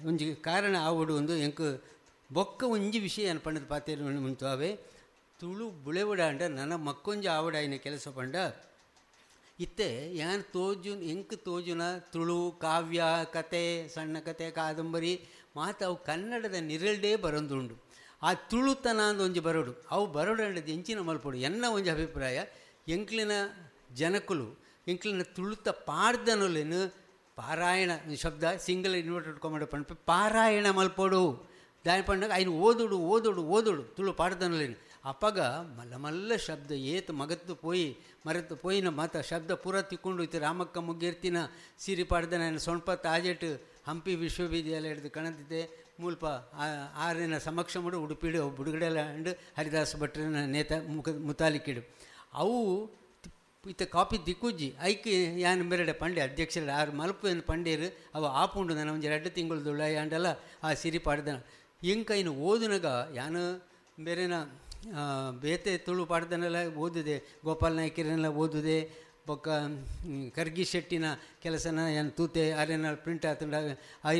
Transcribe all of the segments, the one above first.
ಒಂಜಿ ಕಾರಣ ಆವಡು ಒಂದು ಎಂಕ್ ಬೊಕ್ಕ ಒಂಜಿ ವಿಷಯ ಏನು ಪಂಡದ ಪಾತೆರ ಮುಂತಾವೆ ತುಳು ಬುಳೆವಡಾಂಡ ನನ್ನ ಮಕ್ಕೊಂಜಿ ಆವಡಾಯಿನ ಕೆಲಸ ಪಂಡ ಇತ್ತೆ ಯಾನ್ ತೋಜು ಎಂಕ್ ತೋಜುನ ತುಳು ಕಾವ್ಯ ಕತೆ ಸಣ್ಣ ಕತೆ ಕಾದಂಬರಿ ಮಾತು ಅವು ಕನ್ನಡದ ನಿರಲ್ಡೇ ಬರೊಂದುಂಡು. ಆ ತುಳುತನ ಅಂದು ಒಂಜಿ ಬರೋಡು ಅವು ಬರೋಡು ಅಂಡದು ಎಂಚಿನ ಮಲ್ಪೊಡು ಎನ್ನ ಒಂಜಿ ಅಭಿಪ್ರಾಯ. ಎಂಕ್ಲಿನ ಜನಕುಲು ಎಂಕ್ಲಿನ ತುಳುತ ಪಾಡ್ದನೊಲೆನು ಪಾರಾಯಣ ಶಬ್ದ ಸಿಂಗಲ್ ಇನ್ವರ್ಟೆಡ್ ಕಾಮಡ್ ಪಂಡ ಪಾರಾಯಣ ಮಲ್ಪೊಡು ದಾಯ ಪಂಡಾಗ ಐನು ಓದುಡು ಓದುಡು ಓದುಡು ತುಳು ಪಾಡ್ದನೊಲೆನು ಅಪಗ ಮಲ್ಲ ಮಲ್ಲ ಶಬ್ದ ಏತು ಮಗತ್ತು ಪೋಯಿ ಮರೆತು ಪೋಯಿನ ಮಾತ ಶಬ್ದ ಪೂರ ತಿಕ್ಕೊಂಡು ಇತ್ತು. ರಾಮಕ್ಕ ಮುಗ್ಗಿರ್ತಿನ ಸಿರಿ ಪಾಡ್ದನ ಸೊಣ್ಪ ತಾಜೆಟ್ ಹಂಪಿ ವಿಶ್ವವಿದ್ಯಾಲಯದ ಕಣದಿದ್ದೆ ಮೂಲ್ಪ ಆರಿನ ಸಮಕ್ಷಮಡು ಉಡುಪಿಡು ಅವು ಬುಡುಗಡೆಲ್ಲ ಅಂಡು ಹರಿದಾಸ ಭಟ್ರನ ನೇತ ಮುಖ ಮುತಾಲಿಕಿಡು ಅವು ಇತ್ತ ಕಾಪಿ ದಿಕ್ಕುಜ್ಜಿ ಐಕ್ ಯಾನ್ ಮೆರಡೆ ಪಂಡೆ ಅಧ್ಯಕ್ಷರ ಆರು ಮಲ್ಪು ಎಂದು ಪಂಡೇರು ಅವು ಆಪುಂಡು ನನ್ನ ಒಂಜಿ 2 ತಿಂಗಳು ಯಾಂಡಲ್ಲ ಆ ಸಿರಿ ಪಾಡ್ದನ ಎಂಕೈನು ಓದುನಗ ಯಾನು ಬೇರೆನ ಬೇತೆ ತುಳು ಪಾಡ್ದನೆಲ್ಲ ಓದಿದೆ, ಗೋಪಾಲ್ ನಾಯ್ಕರನ್ನೆಲ್ಲ ಓದಿದೆ, ಬೊಕ್ಕ ಕರ್ಗಿ ಶೆಟ್ಟಿನ ಕೆಲಸನ ಏನು ತೂತೆ ಅರೆನ ಪ್ರಿಂಟ್ ಆತಂಡ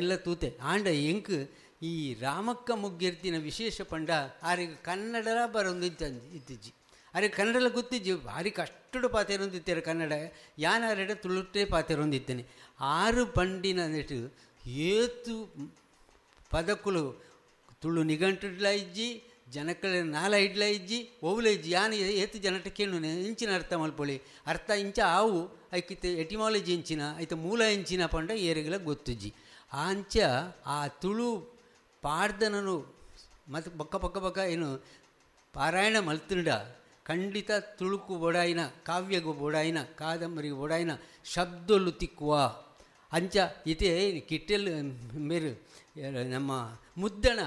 ಎಲ್ಲ ತೂತೆ. ಆಂಡ ಎಂಕ್ ಈ ರಾಮಕ್ಕ ಮುಗ್ಗಿರ್ತಿನ ವಿಶೇಷ ಪಂಡ ಆರಿಗೆ ಕನ್ನಡಲ ಬರೊಂದು ಇತ್ತಿಜ್ಜಿ, ಅರೆ ಕನ್ನಡಲ ಗೊತ್ತಿಜ್ಜಿ, ಭಾರಿ ಕಷ್ಟಡು ಪಾತೆರೊಂದಿತ್ತಾರೆ ಕನ್ನಡ, ಯಾನಾರೆಡ ತುಳುಟೇ ಪಾತೆರೊಂದಿದ್ದೇನೆ. ಆರು ಪಂಡಿನ ನೆಟ್ಟು ಏತು ಪದಕುಲು ತುಳು ನಿಘಂಟುಡ್ಲ ಇಜ್ಜಿ, ಜನಕಳ ನಾಲ ಇಡ್ಲ ಇಜ್ಜಿ, ಓವುಲ ಇಜ್ಜಿ, ಯಾನು ಏತು ಜನಟ ಕೇಳು ಇಂಚಿನ ಅರ್ಥ ಮಲ್ಪೊಳಿ ಅರ್ಥ ಇಂಚ ಆವು ಐಕಿತ ಎಟಿಮಾಲಜಿ ಇಂಚಿನ ಐತ ಮೂಲ ಇಂಚಿನ ಪಂಡ ಏರಿಗೆಲ್ಲ ಗೊತ್ತಿಜ್ಜಿ. ಆಂಚ ಆ ತುಳು ಪಾಡ್ದನನು ಮತ್ತು ಬೊಕ್ಕ ಪಕ್ಕ ಬೊಕ್ಕ ಏನು ಪಾರಾಯಣ ಮಲ್ತುಂಡ ಖಂಡಿತ ತುಳುಕು ಬೋಡಾಯಿನ ಕಾವ್ಯಗೂ ಬೋಡಾಯಿನ ಕಾದಂಬರಿಗೆ ಬೋಡಾಯಿನ ಶಬ್ದಲು ತಿಕ್ಕುವ ಅಂಚ ಇದೇ ಕಿಟ್ಟೆಲ್ ಮೇರು ನಮ್ಮ ಮುದ್ದಣ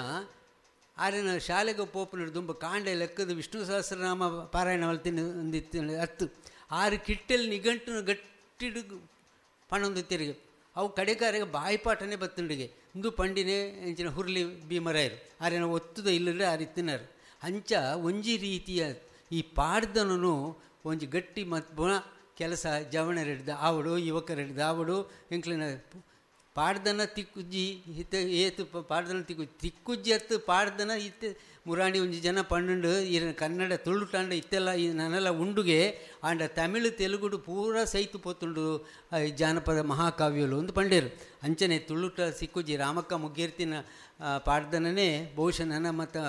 ಆರಿನ ಶಾಲೆಗೆ ಪೋಪುನ ದುಂಬ ಕಾಂಡೆ ಲೆಕ್ಕದ ವಿಷ್ಣು ಸಹಸ್ರನಾಮ ಪಾರಾಯಣ ಮಲ್ತಿನ ಒಂದಿತ್ತು ಅತ್ತು ಆರು ಕಿಟ್ಟೆಲ್ ನಿಘಂಟು ಗಟ್ಟಿಡು ಪಣೊಂದು ತಿರುಗಿ ಅವು ಕಡೆಕಾರಿಗೆ ಬಾಯಿಪಾಠನೇ ಬತ್ತುಂಡಿಗೆ ಇಂದು ಪಂಡಿನೇ ಇಂಚಿನ ಹುರ್ಲಿ ಭೀಮರಾಯರು ಆರಿನ ಒತ್ತುದ ಇಲ್ಲದ್ರೆ ಆರಿತ್ತಿನಾರು. ಅಂಚ ಒಂಜಿ ರೀತಿಯ ಈ ಪಾಡ್ದನನು ಒಂಜಿ ಗಟ್ಟಿ ಮತ್ತು ಕೆಲಸ ಜವಣರಿಡ್ದ ಆವಡು ಯುವಕರಿಡ್ದ ಆವಡು ಎಂಕ್ಲಿನ ಪಾಡ್ದನ ತಿಕ್ಕುಜ್ಜಿ ಇತ್ತ ಏತು ಪಾಡ್ದನ ತಿಕ್ಕು ತಿಕ್ಕುಜ್ಜಿ ಅತ್ತು ಪಾಡ್ದನ ಇತ್ತೆ ಮುರಾಣಿ ಒಂಜಿ ಜನ ಪಂಡು ಇರ ಕನ್ನಡ ತುಳುಟಾಂಡ ಇತ್ತೆಲ್ಲ ಈ ನನ್ನೆಲ್ಲ ಉಂಡುಗೆ ಆಂಡ ತಮಿಳು ತೆಲುಗುಡು ಪೂರ ಸೈತು ಪೋತುಂಡು ಜಾನಪದ ಮಹಾಕಾವ್ಯಲು ಒಂದು ಪಂಡೇರು. ಅಂಚನೆ ತುಳುಟ ಸಿಕ್ಕುಜ್ಜಿ ರಾಮಕ್ಕ ಮುಗ್ಗಿರ್ತಿನ ಪಾಡ್ದನೇ ಬಹುಶಃ ನನ್ನ ಮತ್ತು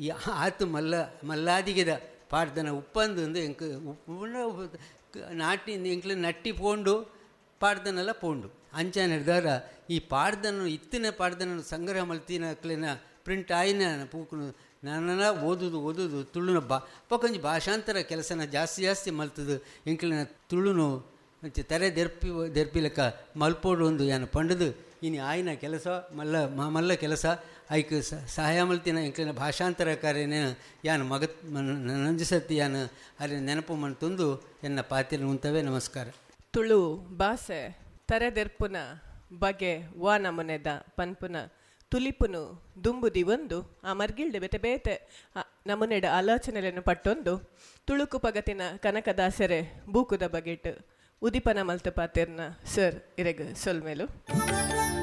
ಈ ಆತು ಮಲ್ಲ ಮಲ್ಲಾದಿಗೆದ ಪಾಡ್ದನ ಉಪ್ಪಂದು ಒಂದು ಎಂಕ್ ಉಪ್ಪು ನಾಟಿ ಎಂಕ್ಲ ನಟ್ಟಿ ಪೋಂಡು ಪಾಡ್ದನೆಲ್ಲ ಪೋಂಡು ಅಂಚನೆ ಹಿಡ್ದಾರ ಈ ಪಾಡ್ದನು ಇತ್ತಿನ ಪಾಡ್ದನನ್ನು ಸಂಗ್ರಹ ಮಲ್ತಿನ ಅಕ್ಲಿನ ಪ್ರಿಂಟ್ ಆಯಿನ ಪೂಕುನು ನಾನೆಲ್ಲ ಓದುದು ಓದುದು ತುಳುನ ಬಾ ಪಕ್ಕೊಂಜಿ ಭಾಷಾಂತರ ಕೆಲಸನ ಜಾಸ್ತಿ ಜಾಸ್ತಿ ಮಲ್ತದು ಎಂಕ್ಲಿನ ತುಳುನು ಅಂಚೆ ತರೆ ದೆರ್ಪಿ ದೆರ್ಪಿಲಕ್ಕ ಮಲ್ಪೋಡು ಒಂದು ಯಾನು ಪಂಡದು ಇನಿ ಆಯಿನ ಕೆಲಸ ಮಲ್ಲ ಮಲ್ಲ ಕೆಲಸ ಐಕ್ ಸಹಾಯ ಮಲ್ತಿನ ಎಂಕ್ಲಿನ ಭಾಷಾಂತರ ಕಾರ್ಯನೇ ಯಾನು ಮಗತ್ ನಂಜಿಸತ್ತಿ ಯಾನು ಅರೆ ನೆನಪು ಮನ್ತೊಂದು ಎನ್ನ ಪಾತಿರ ಉಂತವೇ. ನಮಸ್ಕಾರ. ತುಳು ಭಾಷೆ ತರೆದೆರ್ಪುನ ಬಗೆ ವಾ ನಮುನೆದ ಪನ್ಪುನ ತುಲಿಪುನು ದುಂಬುದಿ ಒಂದು ಆ ಮರ್ಗಿಲ್ಡೆ ಬೇತೆ ಬೇತೆ ನಮುನೆಡ ಆಲೋಚನೆಗಳನ್ನು ಪಟ್ಟೊಂದು ತುಳುಕು ಪಗತಿನ ಕನಕದಾಸರೆ ಬೂಕುದ ಬಗೆಟ್ ಉದಿಪನ ಮಲ್ತ ಪಾತೆರ್ನ ಸರ್ ಇರೆಗ್ ಸೊಲ್ಮೇಲು.